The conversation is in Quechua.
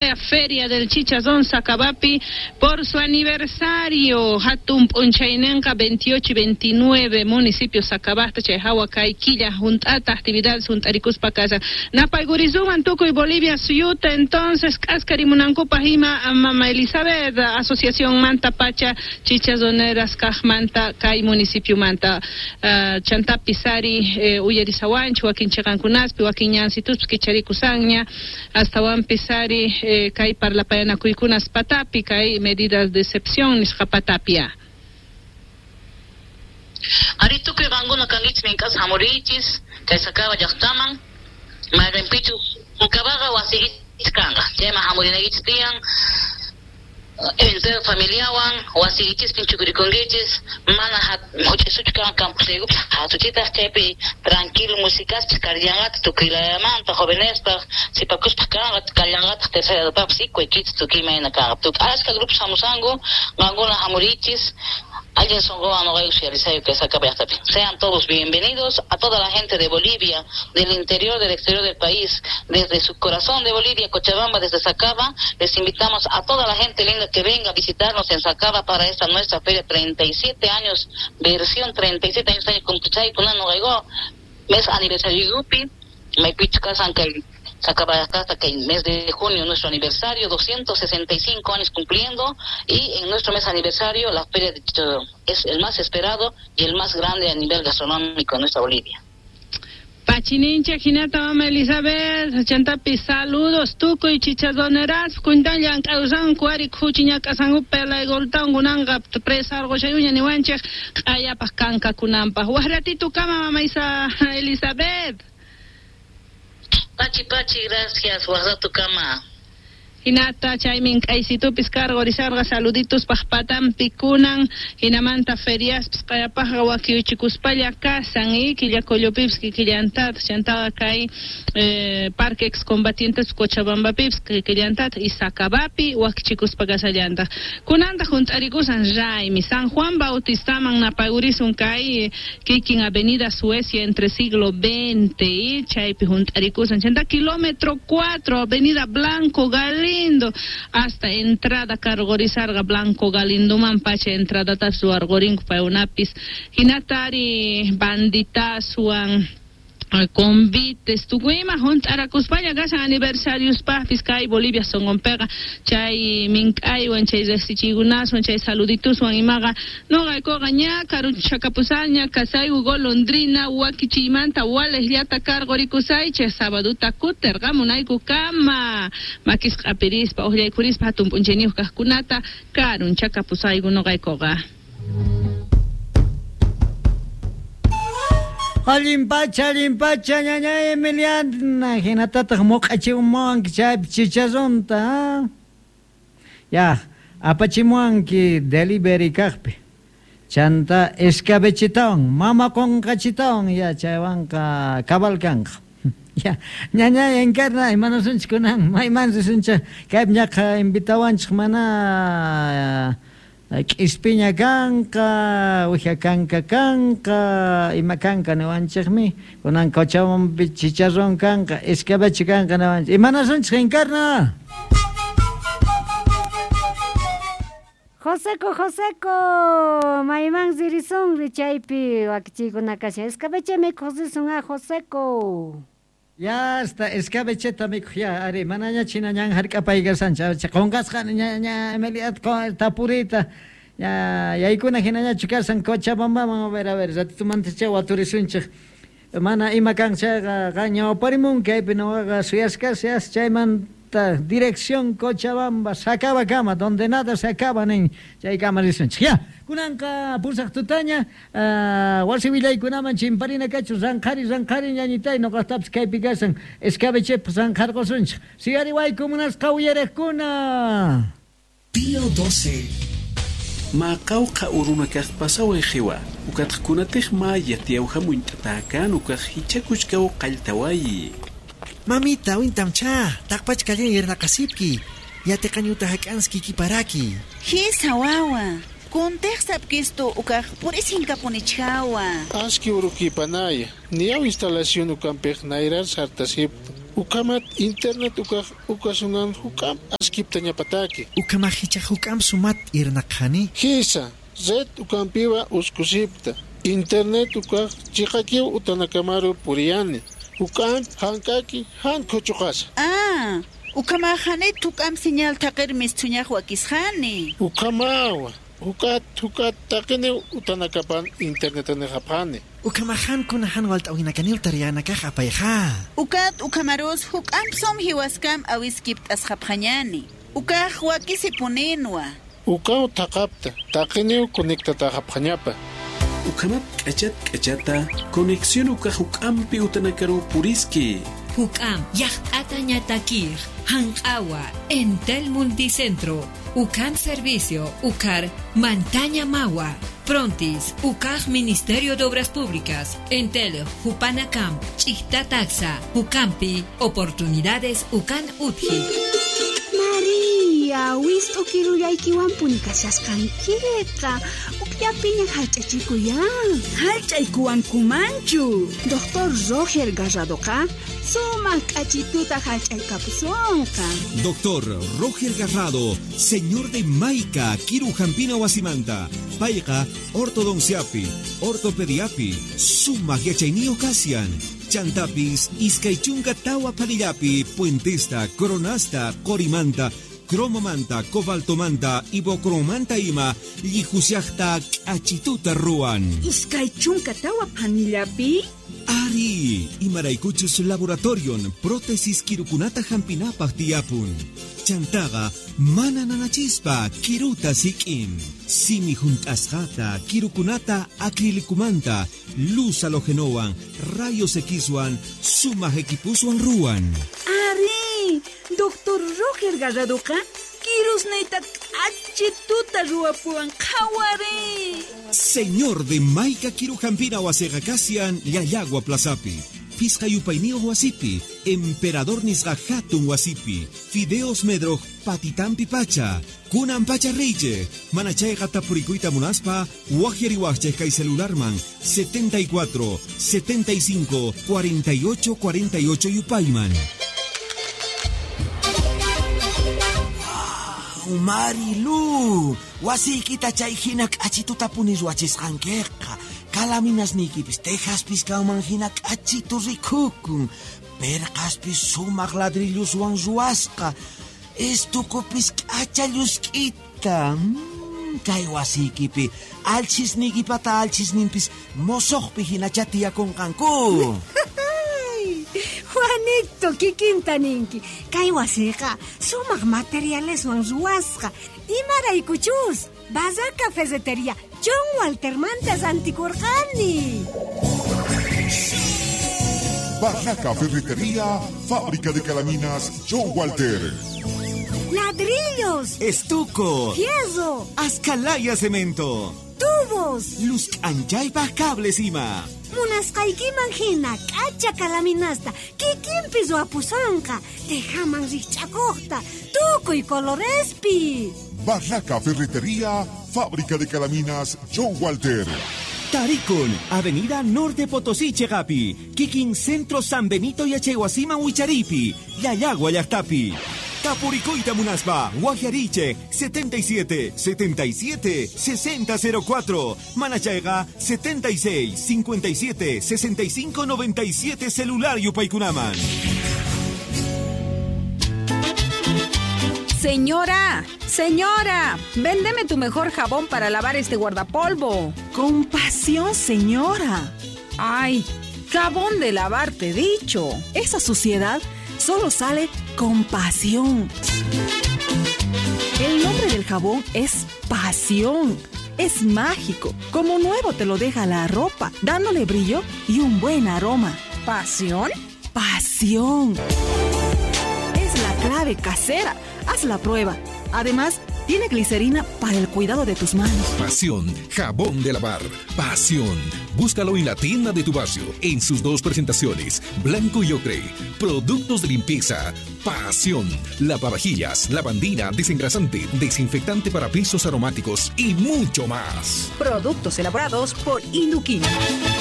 Feria del Chicharrón Sacabappi por su aniversario. Hatun p'unchaynenqa 28 y 29 municipio Sacabasta chay hawa kay killa hunt'ata actividades hunt'arikuspa kashan. Napaykurisunman tukuy Bolivia suyuta entonces k'askarimunankupaq ima Mama Elizabeth asociacionmanta pacha chicharroneras kaqmanta kay municipiomanta. Chantapis ari uyarisawanchik wakin chiqankunaspi wakin ñansituspi kicharikushanña astawanpis ari kay parlapayanakuykunas patapi kay medidas de excepción nisqa patapia. Ari tukuy qankuna kankichis mink'as hamurichis kay Sacaba llaqtaman mayqinpichus Sacabaqqa wasiykichis kanqa chayman hamurinaykichis tiyan entero familiawan wasiykichispin chukurikunkichis mana huch'isuchu kanqa campusllaykupis hatuchitaq chaypi tranquilo musicaspis karillanqataq tukuy layamanta jovenespaq sipakuspaq kanqa kallanqataq tercera edadpaqpis ikuaykichis tukuy imayna kanqa ashka grupos hamusanku qankuna hamurichis Alguien songoa no que Sean todos bienvenidos a toda la gente de Bolivia, del interior, del exterior del país, desde su corazón de Bolivia, Cochabamba, desde Sacaba. Les invitamos a toda la gente linda que venga a visitarnos en Sacaba para esta nuestra feria 37 años, versión 37 años, mes aniversario Yupi, Sacaba hasta que en mes de junio nuestro aniversario, 265 años cumpliendo, y en nuestro mes aniversario la feria de Chicharrón es el más esperado y el más grande a nivel gastronómico en nuestra Bolivia. Pachinincha hinata mama Elizabeth, chantapi saludos tukuy chicharroneras, kuntallan k'awsanku ari khuchiña k'asanku pelaygoltawan kunanqa presarqushayuña niwanchik q'ayapaq kankakunanpaq. Waq ratito kama mama Isa Elizabeth. Pachi, pachi, gracias, waq kama. Hinata chaymin k'aysitupis karqurisharqa saluditos paq patampi kunan hinamanta feriaspis q'ayapaqqa wakiuchikuspalla kasan y killakullupipis kikillantataq chantaqa kay Parque Excombatientes Cochabambapipis kikillantataq y Sacabapi wakichikuspa kasallantaq. Kunantaq hunt'arikusan raymi San Juan Bautistaman napayurisun kay kikin Avenida Suecia entre siglo XX y chaypi hunt'arikusan chanta kilómetro 4 Avenida Blanco Galindo hasta entrada karqurisarqa Blanco Galindoman pacha entrada ruwarqurinku paykunapis hinatari banditaswan convites tukuyma hunt'arakuspalla kashan aniversariospaqpis kay Bolivia sonqonpiqa chay mink'aywan chay riqsichiykunaswan chay saludituswan imaqa nuqaykuqa ña karunchakapusaña kasayku golondrina wakichiymanta waliqllata karqurikusaychik sabaduta kutirqamunayku kama makisqa q'apirispa uqllaykurispa hatun p'unchayniyuq kaqkunata karunchakapusayku nuqaykuqa. Allin pacha, ñaña Emiliana, hinatataq muq'achimuwanki chaypi chicharronta, ya, apachimuwanki delivery kaqpi, chanta escabechitawan, mama qunqachitawan, ya, chaywanqa cabal kanqa. Ya, ñaña Encarna, imanasunchik kunan, mayman risunchik, kaypi ñaqa invitawanchik mana k'ispiña kanqa, uwija kanka kanqa, ima kanka niwanchikmi, kunan Cochabambapi chicharrón kanqa, escabeche kanqa niwanchik. Imanasunchik Encarna? Joseco, Joseco, mayman ririsunri chaypi wakichiykuna kashan. Escabeche mikhuq risun a Joseco. Ya hasta escabecheta mikhuq ya, ari manaña china ñan hark'apaykasanchik, qunqasqa ña Emilia tapurita, ya yaykuna hinañachu kasan Cochabambaman, a ver, ratitumanta waturisunchik. Mana ima kan chayqa qan ñawparimunki kaypi nuqaqa suyasqas chaymanta dirección Cochabamba, Sacaba kama, donde nada se acaba nin chaykama risunchik. Ya, kunanqa pusaq tutaña, wasi willaykunaman chimparina kachu ranqhari ranqhari ñañitay nuqaqtapis kaypi kasan escabechepaq ranqharqusunchik. Siyariwayku munasqa uyariqkuna. Día 12. Maqawqa urunakaq pasaway qiwa ukatqkunatiq maya tiyawhamunt'atakan ukaq hichakuchkaw qalltawayi. Mamita, wintamcha, taqpachkallan yernaqasipki, yatiqañuta hak'anski kiparaki. Hisa wawa, kuntiqsapkistu ukaq purisinkamunichhawa. Aski urukipanaya, niyaw instalación ukampiq nayrar sartasip, Ukamat internet ukaq ukasunan hukam askipta ñapataki. Ukamahicha hukam sumat irnaqhani. Hisa, red ukampiwa uskusipta. Internet ukaq chiqakiw utanakamaru puriyani. Hukam hankaki han kuchuqasa. Ah, ukamahani tukam señal taqirmis thuñaq wakisqani. Ukamawa. Hukat hukat taqini utanakapan internet nehapani. Ukamahan kunahan walt'awinakanil tariyanakaq apayqa. Ukat ukamaros hukam som hiwaskam awiskipt asqapqañani. Ukaq wakisipuninwa. Ukaw taqapta taqiniw conectataqapqañapa. Ukamat k'achat k'achata conexión ukaq hukampi utanakaru puriski. Hukam yaqt'ata ñatakir hanq'awa Entel Multicentro Ukam Servicio Ukar Mantaña Mawa Prontis Ukaj Ministerio de Obras Públicas Entel Jupanacam Chictataxa Ukampi Oportunidades Ukan Utji. María, wist'u kirullaykiwanpuni kashasqankiqa ukllapiña hallch'achikuyan. Hallch'aykuwankumanchu. Doctor Roger Garradoqa sumaq k'achituta hallch'aykapusunqa. Doctor Roger Garrado, señor de Maica, Kiru Jampina Wasimanta, payqa ortodonciapi, ortopediapi, sumaq yachayniyuq kasian. Chantapis, iskaychunka tawa palillapi, puentesta, coronasta, corimanta, cromomanta, cobaltomanta, ibocromanta ima, llihusiaqta k'achituta ruwan. Iskaychunka tawa panillapi? Ari, imaraykuchus laboratorion, prótesis kirukunata hampinapaq tiyapun. Chantaqa mana nanachispa kiruta sik'in. Simi hunt'asqata, kirukunata acrilicumanta, luz halogenowan, rayos Xwan, sumaq equipuswan ruwan. Ari, Doctor Roger Garradoqa kirusniyta k'achituta ruwapuwan qhawari. Señor de Maica Kirujampina wasiqa kasian Llallagua Plazapi. Pisqa yupayniyuq wasipi, Emperador nisqa hatun wasipi, Fideos Medroj patitampi pacha, kunan pacha riche, mana chayqa tapurikuyta munaspa, waqyariwaqchik kay celularman 74 75 48 48 yupayman. Marilu, wasiykita chay hina k'achituta puni ruwachisqankiqa. Kalaminasniykipis tejaspis kanman hina k'achitu rikukun. Perqaspis sumaq ladrilluswan ruwasqa. Estukupis k'acha llusk'ita. Kay wasiykipi alchisniykipata alchisninpis mosoqpi hinacha tiyakunqanku. Juanito, kikinta ninki. Kay wasiqa sumaq materialeswan ruwasqa. Imaraykuchus, Barraca Ferretería John Walter mantas antikurqani. Barraca Ferretería, fábrica de calaminas John Walter. Ladrillos, estuco, fierro, ascalaya cemento, tubos, luz anchaypaq cables ima. Munasqaykiman hina k'acha kalaminasta kikinpi ruwapusonqa, tejaman rikch'akuqta, tukuy colorespi. Barraca Ferretería, fábrica de calaminas John Walter. Tarikun, Avenida Norte Potosí, Chegapi, Kikin Centro San Benito y Achehuasima Huicharipi, Llallagua Llaqtapi. Tapuricoita Munaspa, Guajariche, 77 77 60 04, Manachayga, 76 57 65 97 celular Yupaykunaman. Señora, señora, véndeme tu mejor jabón para lavar este guardapolvo. Con pasión, señora. Ay, jabón de lavar, te he dicho. Esa suciedad solo sale con pasión. El nombre del jabón es Pasión. Es mágico. Como nuevo te lo deja la ropa, dándole brillo y un buen aroma. ¿Pasión? Pasión. Es la clave casera. Haz la prueba. Además, tiene glicerina para el cuidado de tus manos. Pasión, jabón de lavar. Pasión. Búscalo en la tienda de tu barrio, en sus dos presentaciones, blanco y ocre. Productos de limpieza. Pasión. Lavavajillas, lavandina, desengrasante, desinfectante para pisos aromáticos y mucho más. Productos elaborados por Induquín.